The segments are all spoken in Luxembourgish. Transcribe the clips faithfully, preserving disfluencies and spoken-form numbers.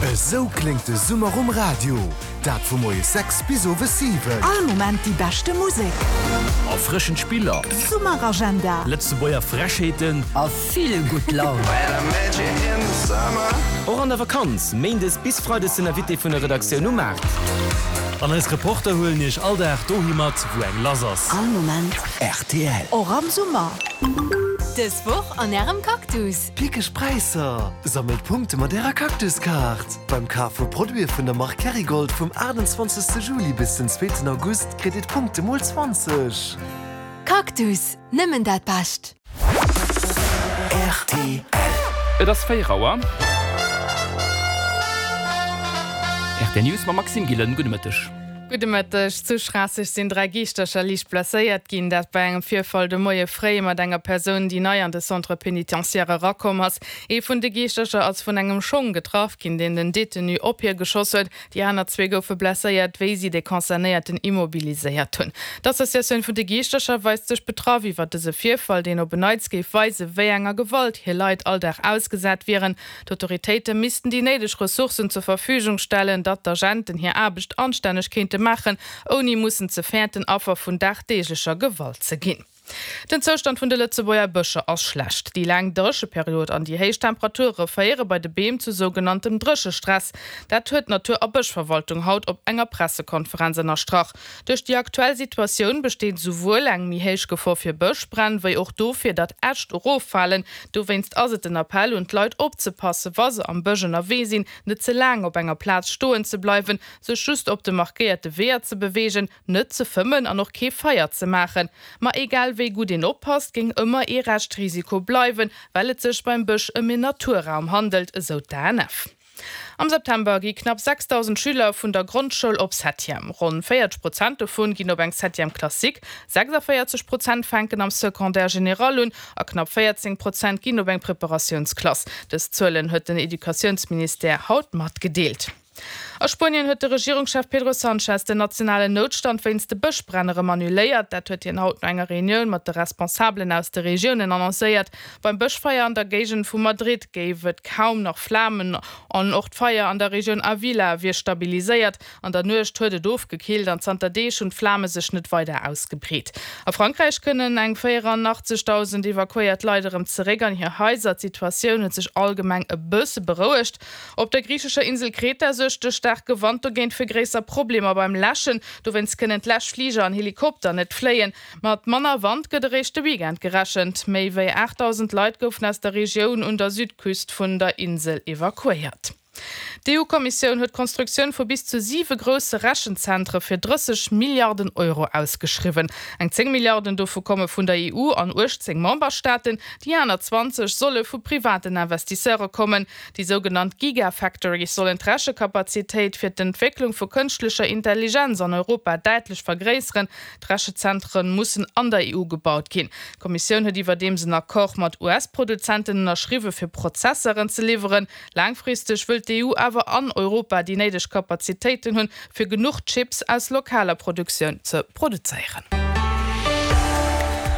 Esou kléngt de Summer um Radio. Dat vu moies sechs bis owes siwen. All Moment déi beschte Musek. Erfrëschend Spiller. Summeragenda. Lëtzebuerger Frechheeten. A vill gutt Laun. Och an der Vakanz, méindes bis freides den Invité vun der Redaktioun um Maart. An eis Reporter huelen iech all Dag dohi mat, wou eng lass ass. All Moment. R T L. Och am Summer. Dës Woch an ärem Cactus. Pickeg Präisser! Sammelt Punkte mat ärer Cactuskaart. Beim Kaf vu Produite vun der Mark Kerrygold vum aachtundzwanzegste Juli bis den zweeten August kritt dir d'Punkte mol zwanzeg. Cactus, nëmmen dat Bescht. R T L. Et ass véier Auer. R T L News mam Maxime Gillen. Gudde Mëtteg. Gudde Mëtteg. Zu Schraasseg sinn dräi Giischtercher liicht blesséiert ginn, dat bei engem Virfall de Moie fréi mat enger Persoun, déi nei an de Centre pénitentiaire erakomm ass. Ee vun de Giischtercher ass vun engem Schong getraff ginn, deen den Detenu op hie geschoss huet. Déi aner zwee goufe blesséiert, wéi si de Concernéierten immobiliséiert hunn. D'Associatioun vun de Giischtercher weist sech betraff iwwer dëse Virfall, deen op en Neits géif weisen, wéi enger Gewalt hir Leit all Dag ausgesat wieren. D'Autoritéite missten déi néideg Ressourcen zur Verfügung stellen, datt d'Agenten hir Aarbecht anstänneg kéinte maachen, ouni mussen ze fäerten, Affer vun dagdeeglecher Gewalt ze ginn. Den Zoustand vun de Lëtzebuerger Bëscher ass schlecht. Déi laang Drécheperiod an déi héich Temperature féiere bei de Beem zu sougenanntem Dréchestress. Dat huet d'Natur a Bëschverwaltung haut op enger Pressekonferenz ënnerstrach. Duerch déi aktuell Situatioun besteet souwuel eng méi héich Gefor fir Bëschbränn, wéi och dofir, datt Äscht eroffalen. Dowéinst ass et den Appell un d'Leit opzepassen, wa se am Bësch ënnerwee sinn, net ze laang op enger Plaz stoen ze bleiwen, sech just op de markéierte Weeër ze beweegen, net ze fëmmen an och kee Feier ze maachen. Ma egal wéi gutt een oppasst, géing ëmmer ee Reschtrisiko bleiwen, well et sech beim Bësch ëm en Naturraum handelt, esou d'A N F. Am September gi knapp sechsdausend Schüler vun der Grondschoul op Septième. Ronn véierzeg Prozent dovun ginn op eng Septième classique, sechsundvéierzeg Prozent fänken am Secondaire général un a knapp véierzéng Prozent ginn op eng Preparatiounsklass. Dës Zuelen huet den Educatiounsministère haut matgedeelt. A Spuenien huet de Regierungschef Pedro Sánchez den nationalen Noutstand wéinst de Bëschbränn erëm annuléiert. Dat huet hien haut no enger Reunioun mat de Responsabelen aus de Regiounen annoncéiert. Beim Bëschfeier an der Géigend vu Madrid géif et kaum nach Flamen an och d'Feier an der Regioun Avila wier stabiliséiert. An der Nuecht huet et ofgekillt an zanter Deeg hunn d'Flame sech net weider ausgebreet. A Frankräich kënnen eng véierundaachtzegdausend evakuéiert Leit erëm zeréck an hir Haiser. D'Situatioun huet sech allgemeng e bësse berouegt. Op der griichescher Insel Kreta suergt de staarke Wand dogéint fir gréisser Problemer beim Läschen. Dowéinst kënnen d'Läschfliger an Helikopter net fléien. Mat manner Wand gëtt eréischt de Weekend gerechent. Méi wéi aachtdausend Leit goufen aus der Regioun un der Südküst vun der Insel evakuéiert. D'E U-Kommissioun huet d'Konstruktioun vu bis zu siwe grousse Rechenzentre fir drësseg Milliarden Euro ausgeschriwwen. Eng zéng Milliarden dovu komme vun der E U an uechtzéng Memberstaaten, déi aner zwanzeg solle vu privaten Investisseure kommen. Déi sougenannt Gigafactories sollen d'Rechekapazitéit fir d'Entwécklung vu kënschtlecher Intelligenz an Europa däitlech vergréisseren. D'Rechezentre mussen an der E U gebaut ginn. D'Kommissioun huet iwwerdeems en Accord mat U S-Produzenten ënnerschriwwe fir Prozessoren ze liwweren. Laangfristeg wëll d'E U awer an Europa déi néideg Kapazitéiten hunn, fir genuch Chips aus lokaler Produktioun ze produzéieren.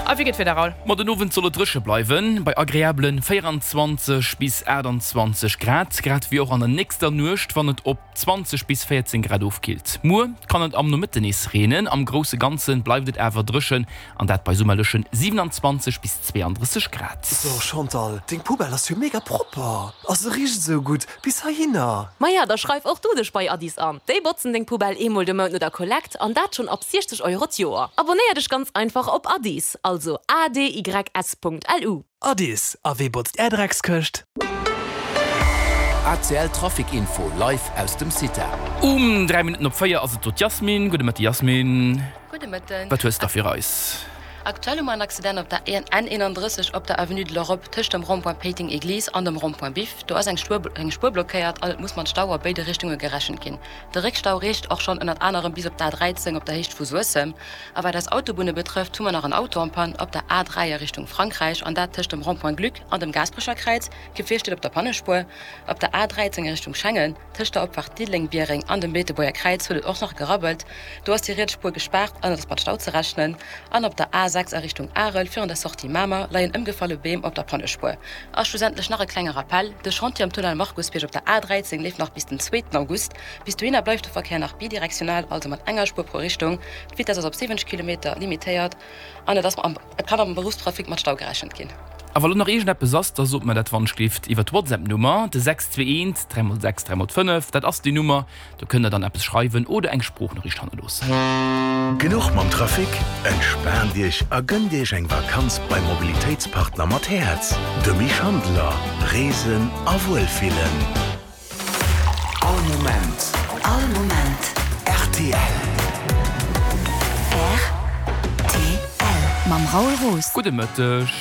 A wéi geet d'Wieder, Raoul? Ma den Owend soll et dréche bleiwen, bei agreabelen véierundzwanzeg bis aachtundzwanzeg Grad, grad wéi och an der nächster Nuecht, wann et op zwanzeg bis véierzéng Grad ofkillt. Muer kann et am Nomëtten nees reenen, am grousse Ganze bleift et awer dréchen an dat bei summerlechen siewenundzwanzeg bis zweeandrësseg Grad. So Chantal, deng Poubelle ass jo mega propper. A se richt sou gutt bis heihinner. Maja, da schreif och du dech bei Adys an. Déi botzen deng Poubelle eemol de Mount no der Kollekt an dat schonn ab siechzeg Euro d'Joer. Abonnéier dech ganz einfach op Adys, also A D Y S Punkt L U. Adys, a wee botzt är Dreckskëscht? A C L Trafic Info live aus dem Cita. Um dräi Minutten op véier ass et do d'Jasmin. Gudde Mëtte Jasmin. Gudde Mëtten. Wat hues de fir eis? Aktuell hu mer en Accident op der N eenandrësseg op der Avenue de l'Europe tëscht dem Rond-point Péiteng Église an dem Rond-point Biff. Do ass eng Spuer eng Spuer blockéiert an et muss mat Stau a béide Richtunge gerechent ginn. De Réckstau reecht och schonn ënnert anerem bis op d'A dräizéng op der Héicht vu Suessem. A wat eis Autobunne betrëfft, hu mer nach en Auto en panne op der A dräi a Richtung Frankräich an dat tëscht dem Rond-point Gluck an dem Gaasperecher Kräiz. D'Gefier steet op der Pannespuer. Op der A dräizéng a Richtung Schengen tëscht der Opfaart Diddeleng-Biereng an dem Beetebuerger Kräiz huet et och nach gerabbelt. Do ass déi riets Spuer gespaart an et ass mat Stau ze rechnen. An op der A sechs sechs a Richtung Arel, virun der Sortie Mamer, leien ëmgefalle Beem op der Pannespuer. A schlussendlech nach e klenge Rappell, De Chantier am Tunnel Markusbierg op der A dräizéng leeft nach bis den zweeten August. Bis dohinner bleift de Verkéier nach bidirektional, also mat enger Spuer pro Richtung. D'Vitess ass op siwwenzeg Kilometer limitéiert an et ass et kann am Beruffstrafic mat Stau gerechent ginn. A wa lo nach iergendeppes ass, da sot mer dat wannschlift iwwer d'WhatsApp-Nummer, de sechs zwee eent, dräi mol sechs, dräi mol fënnef, dat ass déi Nummer, do kënnt der dann eppes schreiwen oder eng Sproochnoriicht hannerloossen. Genuch mam Trafic? Entspaant Iech a gënnt Iech eng Vakanz beim Mobilitéitspartner mat Häerz, de Misch Handeler. Reesen a Wuelfillen. All Moment. All Moment. Rtl. Rtl. Mam Raoul Roos. Gudde Mëtteg.